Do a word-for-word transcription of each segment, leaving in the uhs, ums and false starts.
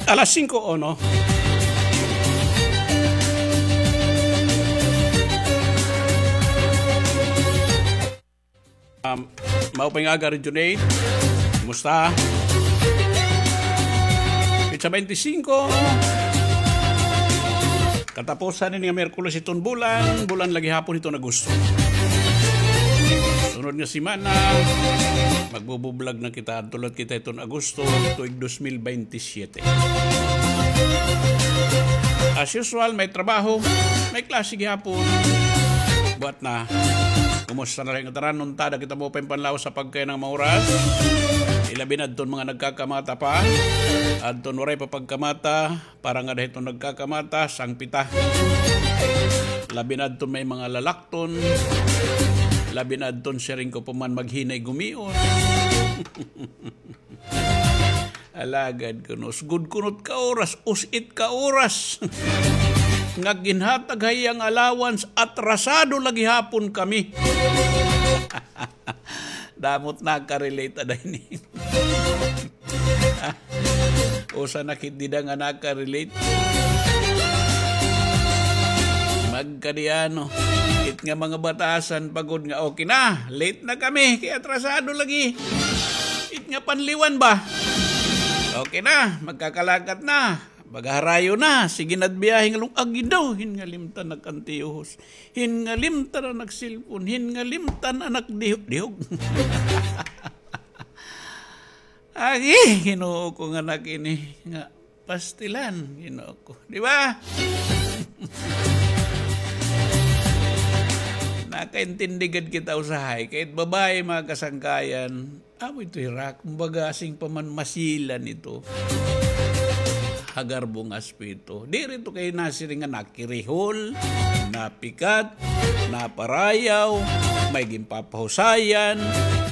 Alas singko uno. Um, maupay nga aga, Region eight. Kumusta? Petsa twenty-five. Katapusan ini nga Miyerkules hiton bulan, bulan la gihapon hiton Agosto. Sunod nga semana, magbubublog na kita, adto la kita hiton Agosto, tuig dos mil bentisiete. As usual, may trabaho, may klase gihapon. Buhat na. Kumusta na la ngatanan? Unta, ada kita maupay nga panlawas ha pagkayan nga mga oras. Ilabi na adton mga nagkakamata pa. Adton waray pa pagkamata, para ngada hiton nagkakamata, sangpita. Labi na adton may mga lalakton. Labi na adton siring ko pa man maghinay gumion. Alagad kuno, sugod kuno it ka oras, us-it ka oras nga ginhatag ha iya nga allowance, atrasado la gihapon kami. Damo it naka-relate ada ini. Usa na kit dida nga naka-relate. Magkadiano. It nga mga batasan pa gud nga, okay na, late na kami, kay atrasado lagi. It nga panliwan ba? Okay na, magkakalakat na. Baga harayo na, sige na it biyahe nga lung-, agi daw, hin ngalimtan nag-antiyuhos. Hin ngalimtan na nag-cellphone, hin ngalimtan na nagdihog-dihog. Agi, Ginoo ko nga anak ini, nga pastilan, Ginoo ko. Di ba? Nakaintindi gad kita usahay. Kay it babaye, mga kasangkayan, amo ito hira, kumbaga, asing pa man masilan ito. Ha garbong aspeto. Diri ito kay nasiring nga nakirihol, napikat, naparayaw, may ginpapahusayan,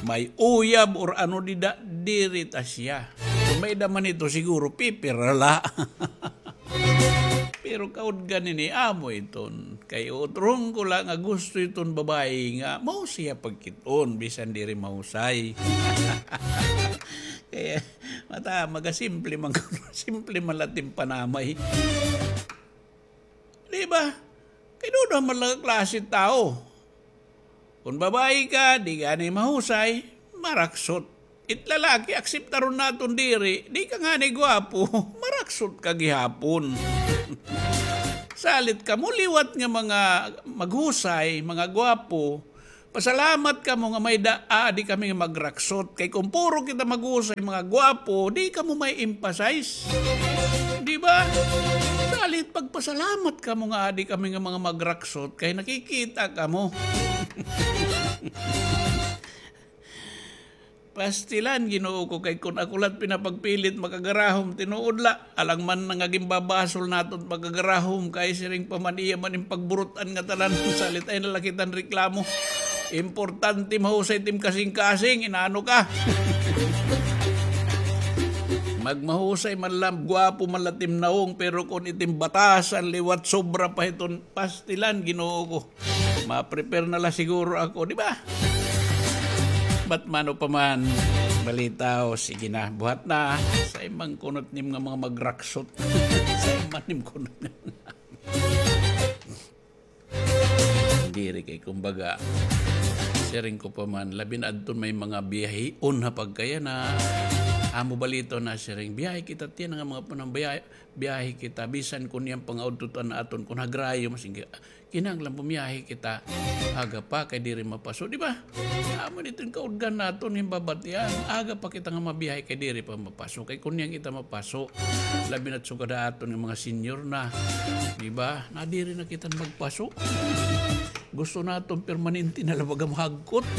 may uyab, or ano dida, diri ta siya. Kon may-ada man ito, siguro, pipira la. Pero kaudgan ini, amo iton. Kay utrohon ko la nga gusto iton babaye nga mahusay ha pagkit-on, bisan diri mahusay. Kay, mata, maga simple man, simple man la it im panamay. Di ba? Kay duduha man la nga klase tawo. Kon babaye ka, di gani mahusay, maraksot. It lalaki, akseptaron naton diri, di ka ngani gwapo, maraksot ka gihapon. Salit kamo liwat nga mga maghusay, mga gwapo, pasalamat kamo nga may-ada, aadi kami nga magraksot. Kay kon puro kita maghusay, mga gwapo, di kamo ma-emphasize. Di ba? Salit pagpasalamat kamo nga aadi kami nga mga magraksot, kay nakikita kamo. Pastilan, Ginoo ko, kay kon ako la it pinapagpilit, makagarahom, tinuod la. Alang man nga ginbabasol naton pagkagarahom, kay siring pa man iya man in pagburut-an ngatanan, salit ay na la kita hin reklamo. Importante mahusay it im kasingkasing, inaano ka? Magmahusay man la, gwapo man la it im nawong, pero kon it im batasan liwat sobra pa hiton pastilan, Ginoo ko. Ma-prepare na la siguro ako, di ba? But man-o pa man, balitaw, sige na, buhat na. Say man kunot nim nga mga magraksot. Say man nim kunot nga. Diri kay, kumbaga, siring ko pa man, labi na adton may mga biyahion ha pagkayana. Amo balitaw na siring, biyahe kita, tiyan nga mga panambiyahe, biyahe kita, bisan kon niyan pangaudtutan naton, kon hagrayo, masing Kinahanglan pumiyahe kita. Aga pa kay diri mapaso, di ba? Amo dito an kaudgan naton nga babatian. Aga pa kita nga mabiyahe kay diri pa mapaso. Kay kon niyan kita mapaso, labi na't sugad ha aton nga mga senior na. Di ba? Nadiri na kita magpaso. Gusto naton permanente na la baga mahagkot.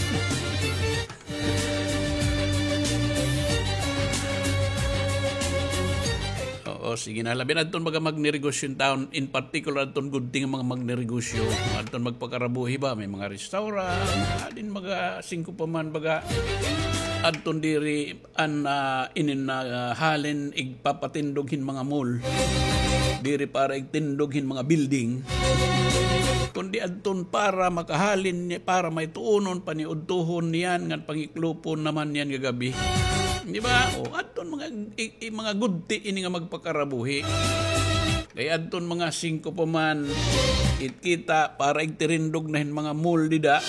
Oo, sige na. Labi na adton mga magnegosyo in town, in particular adton gudting mga magnegosyo. Adton magpakarabuhi ba? May mga restaurant, adin mga singko pa man baga. Adton diri an, ah, inin na, ah, halin igpapatindog hin mga mall. Diri para igtindog hin mga building. Kundi adton para makahalin ni, para may tuunon, paniudtuhon niyan, ngan pangiklupon naman niyan gagabi. Di ba? O, adton mga, i, i, mga gudti ini nga magpakarabuhi. Kay adton mga singko pa man, it kita, para igtirindog na hin mga mall dida.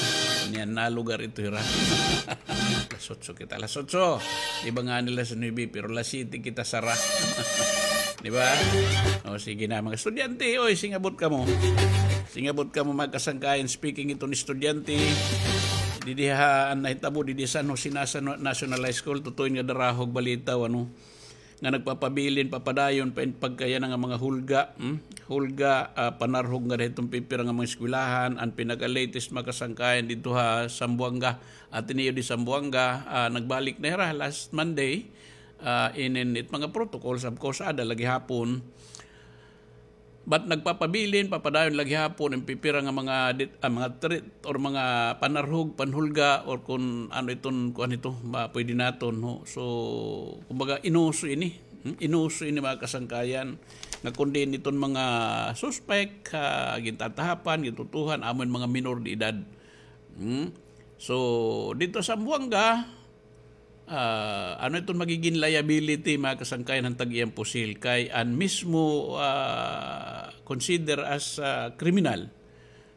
Niyan na lugar ito, hira. Alas otso kita, alas otso. Di ba nga nila sa nuebe, pero alas siyete kita sara. Di ba? O, sige na, mga estudyante, oy, singabot kamo. Singabot kamo, mga kasangkayan, speaking iton estudyante. Didi ha, an nahitabo, didi San Jose Nasa-, National High School, tutuin nga darahog balita, ano, nga nagpapabilin, papadayon pa in pagkayana nga mga hulga, hmm? Hulga, ah, panarhog nga didto pipira nga mga eskwelahan, an pinaka-latest, mga kasangkayan, didto ha Zamboanga, Ateneo de Zamboanga, ah, nagbalik na hira last Monday, ah, inin it mga protocols, of course, ada lagi hapon. But nagpapabilin, papadayon lagi hapon an pipira nga mga dit-, ah, mga threat or mga panarhog, panhulga, or kun ano iton, kuan ito, ma-, pwede naton, no? So, kumbaga, inuso ini. Hmm? Inuso ini, mga kasangkayan. Nga kun diin iton mga suspek, ah, gintatahapan, gintutuhan, amo in mga minor de edad. Hmm? So, didto ha Zamboanga, ah, ano iton magigin liability, mga kasangkayan, han tag-iyang pusil? Kay an mismo, ah, consider as, ah, criminal,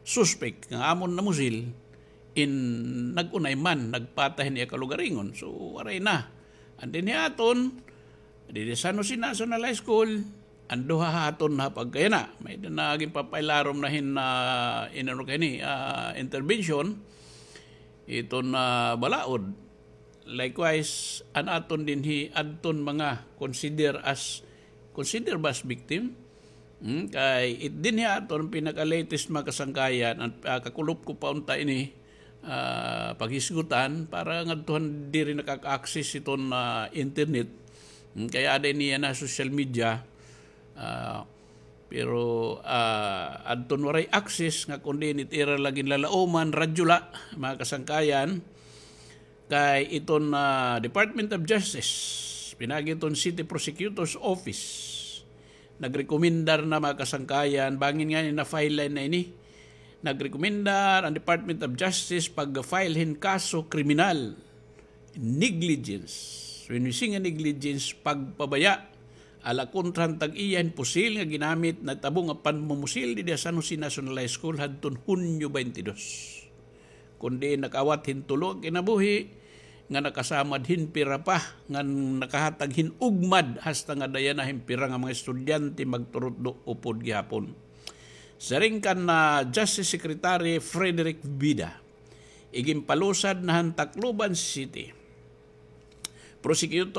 suspect, nga amon namusil, in nag-unay man, nagpatay hin iya kalugaringon. So, waray na. And then, hiaton, didi San Jose National High School, an duha ha aton na pagkayana. May-ada na ginpapailarom na hin, ah, inano kay ni, ah, intervention, iton, ah, balaod. Likewise, an aton dinhi, adton mga consider as, consider ba as victim? Hmm, kay it dinhi aton pinaka-latest, mga kasangkayan, an, ah, kakulop ko pa unta ini, ah, paghisgutan para ngadto han diri nakaka-access iton, ah, internet. Hmm, kay ada ini yana social media. Ah, pero, ah, adton waray access nga kundi it ira la ginlalauman, radyo la, mga kasangkayan, kay iton, ah, Department of Justice, pinaagi iton City Prosecutor's Office, nagrekomendar na, mga kasangkayan, bangin ngani na-file na ini. Nagrekomendar an Department of Justice pag-file hin kaso kriminal. Negligence. When we say nga negligence, pagpabaya ala kontra han tag-iya hin pusil nga ginamit, nahitabo nga panmumusil didi ha San Jose National High School hadton Hunyo twenty-two. Kundi nakaawat hin tulo an kinabuhi, nga nakasamad hin pira pa, nga nakahatag hin ugmad hasta nga daya na hin pira nga mga estudyante magturutdo upod gihapon. Siring kan, ah, Justice Secretary Frederick Vida, iginpalusad na han Tacloban City Prosecutor's